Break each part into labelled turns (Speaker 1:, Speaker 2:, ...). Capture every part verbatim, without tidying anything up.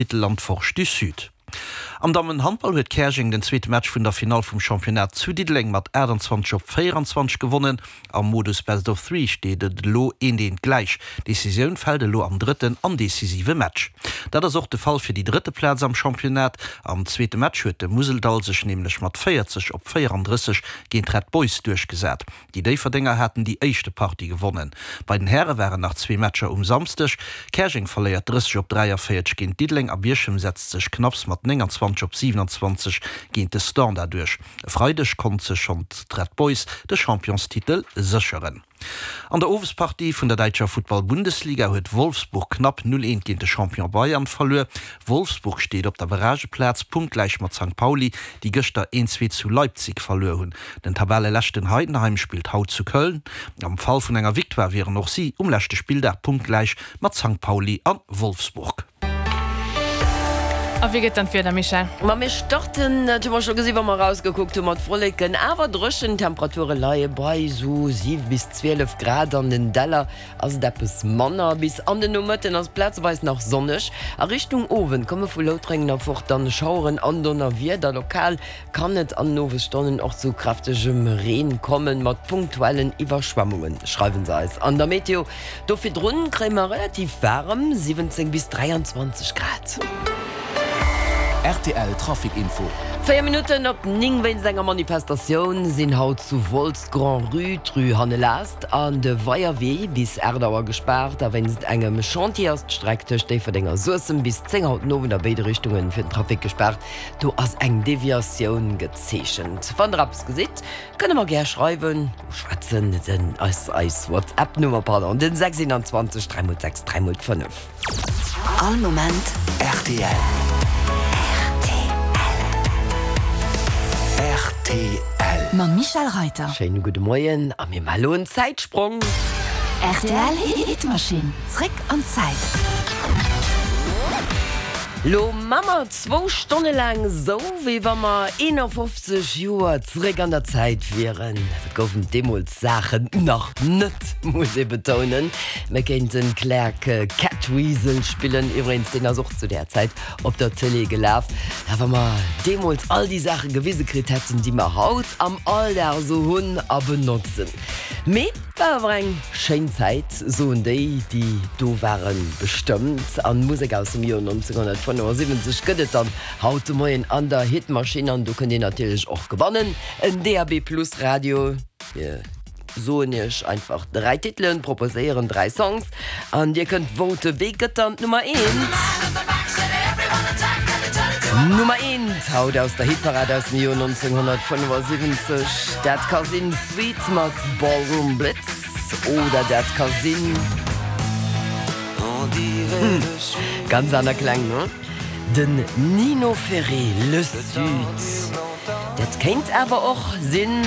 Speaker 1: Titel an d'Forge du Sud. Am Dammenhandball huet Käerjeng den zweete Match vun der Finall vum Championnat zu Diddeleng mat aachtanzwanzeg op véieranzwanzeg gewonnen. Am Modus Best of Three steet et elo eent eent gläich. D'Decisioun fält elo am drëtten an decisive Match. Dat ass och de Fall fir déi drëtte Plaz am Championnat. Am zweete Match huet de Museldall sech nämlech mat véierzeg op véierandrësseg géint d'Red Boys duerchgesat. Déi Déifferdenger haten déi éischte Partie gewonnen. Bei den Häre waren nach zwee Matcher um Samsdeg. Käerjeng verléiert drësseg op dräiavéierzeg géint Diddeleng a Bierchem setzt sech knapps mat nénganzwanzeg op siwenanzwanzeg géint de Standard duerch. E Freideg konnt sech schonn d'Red Boys de Championstitel sécheren. An der Owespartie vun der däitscher Futtball-Bundesliga huet Wolfsburg knapp null eent géint de Champion Bayern verluer. Wolfsburg steet op der Barrageplaz, punktgläich mat Sankt Pauli, déi gëschter een zwee zu Leipzig verluer hunn. Den Tabelleleschten Heidenheim spillt haut zu Köln. Am Fall vun enger Victoire wieren och si um leschte Spilldag punktgläich mat Sankt Pauli a Wolfsburg.
Speaker 2: A wéi gëtt dann d'Wieder, Michèle?
Speaker 3: Ma mir starten, dat hu mer scho gesi wa mer erausgekuckt hu, mat Wolleken, awer dréchen. D'Temperature leie bei esou siwe bis zwielef Grad, an den Däller ass et eppes manner. Bis an den Nomëtten ass et plazeweis nach sonneg. A Richtung Owend komme vu Loutrengen erfort dann Schaueren an Donnerwieder. Lokal kann et an den Owesstonnen och zu kräftegem Reen kommen, mat punktuellen Iwwerschwemmungen, schreiwe se eis an der Meteo. Do virdrun kréie mer relativ waarem siwwenzéng bis dräianzwanzeg Grad.
Speaker 4: Rtl Trafic Info.
Speaker 3: Véier Minutten op néng. Wéinst enger Manifestatioun sinn haut zu Wolz d'Grand-Rue, d'Rue Hannelast an de Weierwee bis aacht Auer gespaart. A wéinst engem Chantier ass d'Streck tëscht Déifferdeng a Suessem bis zéng haut den Owend a béide Richtunge fir den Trafic gespaart. Do ass eng Deviatioun gezeechent. Wann der eppes gesitt, kënnt der mer gär schreiwen, schwätzen, den ass eis WhatsApp-Nummer, pardon, den sechs einundzwanzeg dräi mol sechs dräi mol fënnef.
Speaker 5: All Moment
Speaker 4: rtl. Rtl.
Speaker 5: Mam Michèle Reyter.
Speaker 3: Schéine gudde Moien a mir maache lo en Zäitsprong.
Speaker 5: Rtl Hitmaschinn, zréck an d'Zäit.
Speaker 3: Lo ma mer zwou Stonne laang esou, wéi wa mer eenafofzeg Joer zréck an der Zäit wieren. Et goufen deemools Saachen nach net, muss ee betounen. Mir kéinten Clerc Catweasel spillen, iwwregens deen ass och zu där Zäit op der Tëlee gelaf. Ja, wa mer deemools all déi Saache gewise kritt hätten, déi mer haut am Alldag esou hunn a benotzen. Mee war awer eng schéin Zäit, soen déi, déi do waren, bestëmmt. An Musek aus dem Joer neunzehnhundertfënnefundsiwwenzeg gëtt et dann haut de Moien an der Hitmaschinn. An do kënnt Dir natierlech och gewannen, en D A B Plus Radio. Mir soen Iech einfach dräi Titelen, proposéieren dräi Songs an Dir kënnt voten. Wee gëtt dann d'Nummer eent? Nummer eent haut aus der Hitparad aus dem Joer neunzehnhundertfënnefundsiwwenzeg, dat ka sinn Sweet mat Ballroom Blitz oder dat ka sinn, hm, ganz aner Kläng, ne? Den Nino Ferré, Le Sud. Dat kéint awer och sinn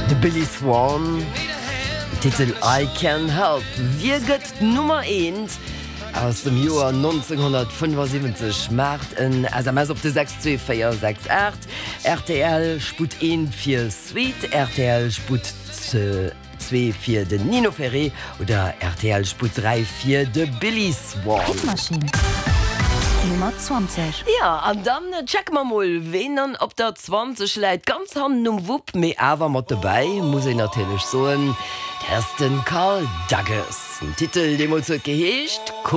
Speaker 3: de Billy Swan, Titel I Can Help. Wie gëtt d'Nummer eent aus dem Joer neunzehnhundertfënnefundsiwwenzeg? Maacht en S M S op de sechs zwee véier sechs aacht. Rtl Sputt eent fir Sweet, rtl Sputt zwee fir den Nino Ferré oder rtl Sputt dräi fir de Billy Swan.
Speaker 5: Hitmaschinn Nummer zwanzeg.
Speaker 3: Jo, an dann checke mer mol, ween dann op der zwanzeg läit. Ganz hannen um Wupp, mee awer mat dobäi, muss een natierlech soen, dat ass de Karl Dagges. Den Titel deemools huet geheescht Kung.